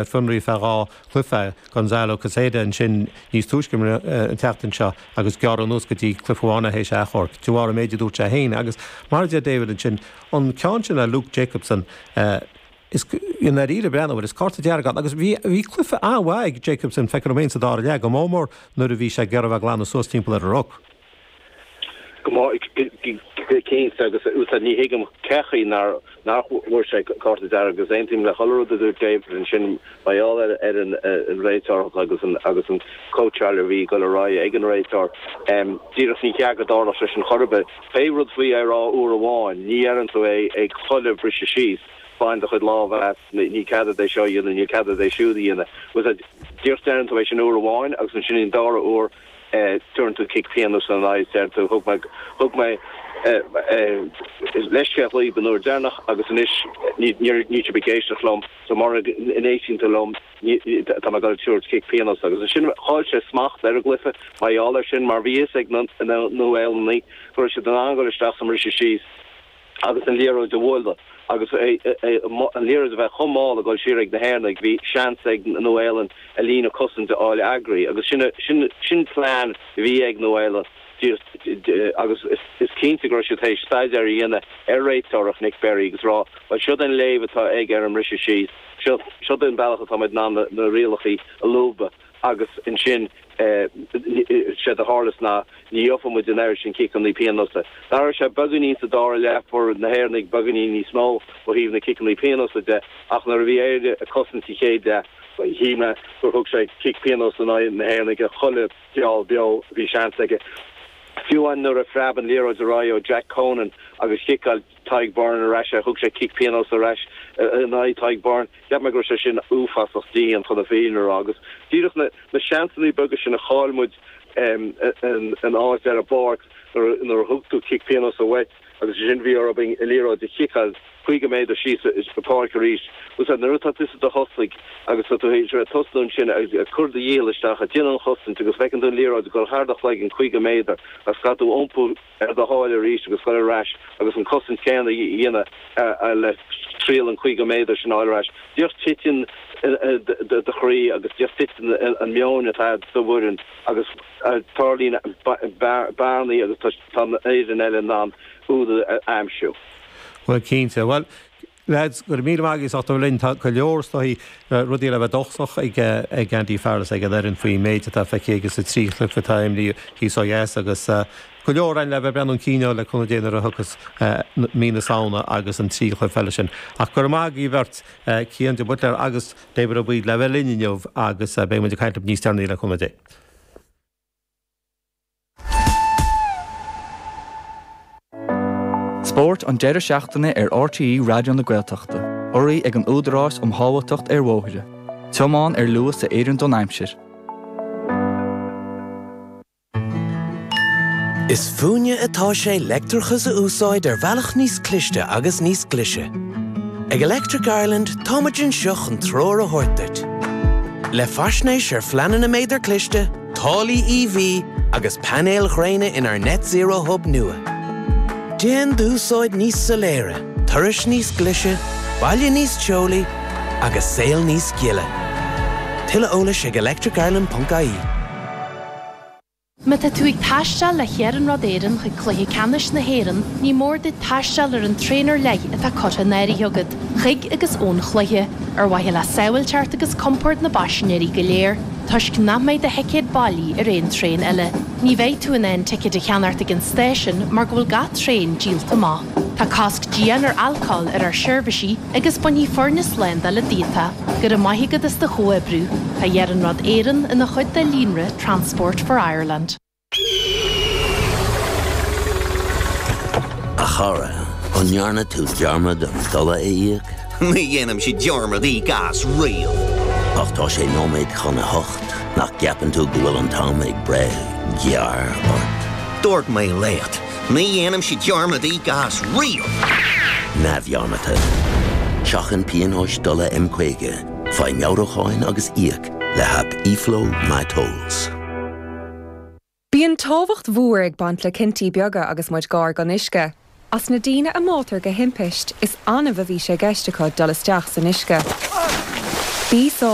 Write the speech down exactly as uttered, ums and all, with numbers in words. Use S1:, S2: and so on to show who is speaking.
S1: Ar fionraí feadh dhá chluiche, Gonzalo Quesada ansin níos túisce an tseachtain seo agus gearradh anuas go dtí cluiche amháin théis achomharc de bharr an méid a dúirt sé féin. Agus mar a deir David ansin, an ceann sin le Luke Jacobson, is i ndáiríre breathnú air, is cárta dearg ann. Agus bhí bhí cluiche an-mhaith ag Jacobson, feictear dom féin sa dara leath, go mór mór nuair a bhí sé ag iarraidh a bheith ag glanadh suas timpeall ar an ruc.
S2: Go cinnte agus úsáid ní thuigim cén chaoi nár nach bhfuair sé cárta dearg agus aontaím le chuile rud a dúirt David ansin mar gheall ar ar an réiteoireacht agus an agus an cóitseáil a bhí ag dul ar aghaidh ag an réiteoir. Díreach ní ceart go dtarlódh sé sin chor ar bith. Pé rud faoi é a rá uair amháin, ní dheireann tú é ag chuile bhriseadh síos, bain do chuid lámha as, ní cead duit é seo a dhéanamh, níl cead duit é siúd a dhéanamh. Díreach deireann tú é sin uair amháin agus ansin an dara huair Tabharann tú cic pionóis ina aghaidh is deireann tú, thug mé, thug mé leithscéal dhaoibh an uair deireanach agus anois ní, níl sibh ag éisteacht liom, so mura n-éisteann tú liom, ní, tá mé ag dul ag tabhairt cic pionóis. Agus ansin chaill sé smacht ar an gcluiche mar gheall air sin mar bhí fhios ag na Nua-Shéalannaigh go raibh siad in ann dul isteach sa mbriseadh síos agus an liathróid a bhualadh agus an liathróid a bheith chomh mall ag dul siar ag na hÉireannaigh, bhí seans ag Nua-Shéalainn a líne cosanta a fháil eagraithe agus sin sin sin plean a bhí ag Nua-Shéalainn agus is cinnte go raibh siad théis staidéar a dhéanamh ar réiteoireacht Nic Berry agus rá bhuel siod an léamh atá aige ar an mbriseadh síos, seo siod an bealach atá muid in ann na rialacha a lúbadh. Agus ansin, séard a tharlas ná ní gheobhadh muid an oiread sin ciceanna pionóis. D'athraigh sé beagáinín sa dara leath, fuair na hÉireannaigh beagáinín níos mó ó thaobh na ciceanna pionóis de, ach nuair a bhí Éire ag cosaint sa chéad leath, shíl mé gur thug sé cic pionóis in aghaidh na hÉireannaigh ar chuile gheall beo a bhí seans aige. Fiú amháin nuair a phreab an liathróid ar aghaidh ó Jack Conan agus chiceáil Tadhg Beirne ar ais é, thug sé cic pionóis ar ais in aghaidh Tadhg Beirne. Cheap mé go raibh sé sin uafásach dian chun na fírinne a rá agus díreach na seansanna beaga sin a chaill muid in áit ar an bpáirc nuair a thug tú cic pionóis uait agus ansin bhí orthu an liathróid a chiceáil caoga méadar síos an pháirc arís. Nuair atá tusa i do thosaí agus tá tú théis a bheith ag tosnú ansin ag cur do dhícheall isteach ag déanamh an chosaint agus feiceann tú an liathróid ag dul thar do chloigeann caoga méadar agus caithfidh tú iompú ar do sháil arís agus dul ar ais agus an cosaint chéanna a dhéanamh le triail an caoga méadar sin a fháil ar ais. Díreach titeann do chroí agus díreach titeann an meon atá a'd sa bhfoireann agus tarlaíonn bearnaí agus tá an fhoireann eile in ann úd a aimsiú.
S1: Bhuel, cinnte. Bhuel, lads, go raibh míle maith agaibh as ucht a bheith linn. Tá go leor, is dóigh, rudaí le bheith dóchasach ag ag Andy Farrell is ag an fhoireann faoin méid atá feicthe aige sa trí chluiche atá imrithe thíos ó dheas agus go leor againn le bheith ag breathnú chun cinn le cúnamh Dé nuair a thiocfas mí na Samhna agus an trí chluiche eile sin. Ach go raibh maith agaibh beirt, Cian de Buitléar agus David Ó Baoill le bheith linn inniu agus beidh muid ag caint libh níos deireanaí le cúnamh Dé.
S3: Spórt an deireadh seachtaine ar RTÉ Raidió na Gaeltachta, urraithe ag an Údarás um Shábháilteacht ar Bhóithre. Tiomáin ar luas a oireann don aimsir.
S4: Is fúinne atá sé leictreachas a úsáid ar bhealach níos cliste agus níos glaise. Ag Electric Ireland táimid anseo chun treoir a thabhairt duit. Le faisnéis ar phleananna méadar cliste, táillí EV agus painéil ghréine inár Net Zero Hub nua. Déan d'úsáid níos soiléire, turais níos glaise, baile níos teolaí agus saol níos gile. Tuilleadh eolais ag electricireland ponc ie.
S5: Má tá tú ag taisteal le hIarnród Éireann chuig Cluiche Ceannais na hÉireann, ní mór duit taisteal ar an traein ar leith atá curtha in áirithe agat, chuig agus ón chluiche, ar mhaithe le sábháilteacht agus compord na bpaisinéirí go léir. Toisc nach mbeidh do thicéad bailí ar aon traein eile, ní bheidh tú in ann ticéid a cheannacht ag an stáisiún mar go bhfuil gach traein díolta amach. Tá cosc dian ar alcól ar ár seirbhísí agus bainfidh foirne slándála díot. Go raibh maith agat as do chomhoibriú. Tá Iarnród Éireann ina chuid de líonra Transport for Ireland.
S6: A chara, an ndearna tú dearmad an dola a íoc?
S7: Ní dhéanaimse dearmad íoc as riamh.
S6: Ach tá sé nóiméad chun a hocht, nach gceapann tú go bhfuil an t-am ag breith gearr ort?
S7: Dúirt mé leat, ní dhéanaimse dearmad íoc as riamh!
S6: Neamhdhearmadta. Seachain pionóis dola M caoga, faigh meabhrúcháin agus íoc le haip eFlow MyTolls.
S8: Bíonn tábhacht mhór ag baint le cinntí beaga agus muid gar don uisce. As na daoine a mbáitear de thimpist, is annamh a bhí sé i gceist acu dul isteach san uisce. Bí sábháilte.